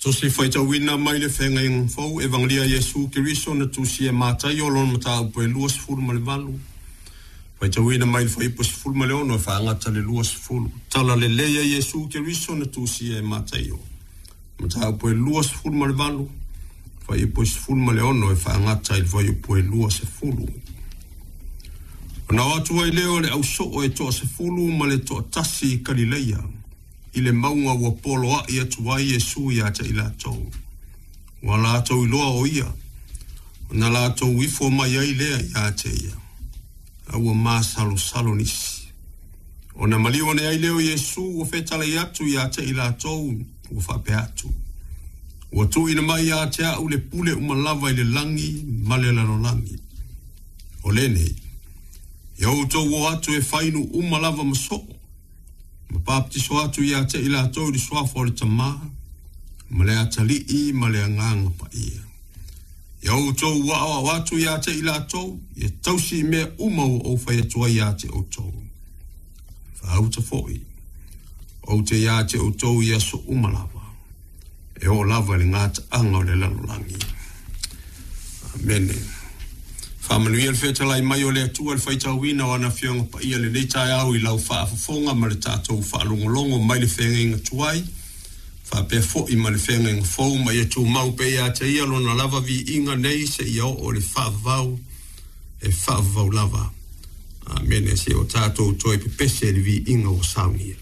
Tusi Faitauina mai le Feagaiga Fou, Evagelia a Iesu Keriso na tusia e Mataio, lona mataupu e 28, faitauina mai le fuaiupu e 16 e faagata le 20. Tala Lelei a Iesu Keriso na tusia e Mataio, mataupu e 28, fuaiupu e 16 e faagata i le fuaiupu e 20. Ona o atu ai lea o le ausoo e toasefulu ma le toatasi i Kalileia, i le mauga ua poloai atu ai Iesu ia te i latou. Ua latou iloa o ia, ona latou ifo mai ai lea ia te ia, a ua masalosalo nisi. Ona maliu ane ai lea o Iesu ua fetalai atu ia te i latou, ua faapea atu, Ua tuuina mai ia te au le pule uma lava i le lagi ma le lalolagi. O lenei, ia outou o atu e fai nuu uma lava ma soo, ma papatiso atu ia te i latou i le suafa o le Tama, ma le Atalii ma le Agaga Paia. Ia outou aoao atu ia te i latou, ia tausi i mea uma ua ou fai atu ai ia te outou. Faauta foi, ou te ia te outou i aso uma lava, e oo lava i le gataaga o le lalolagi. Amene. Faamanuia le fetalai mai o le Atua i le faitauina o ana Afioga Paia lenei taeao i lau faafofoga ma le tatou faalogologo mai le feagaiga tuai faapea foi ma le feagaiga fou ma ia tumau pea ia te ia lona lava viiga nei seia oo i le faavavau e faavavau lava. Amene. Se o tatou toe pepese i le viiga ua saunia.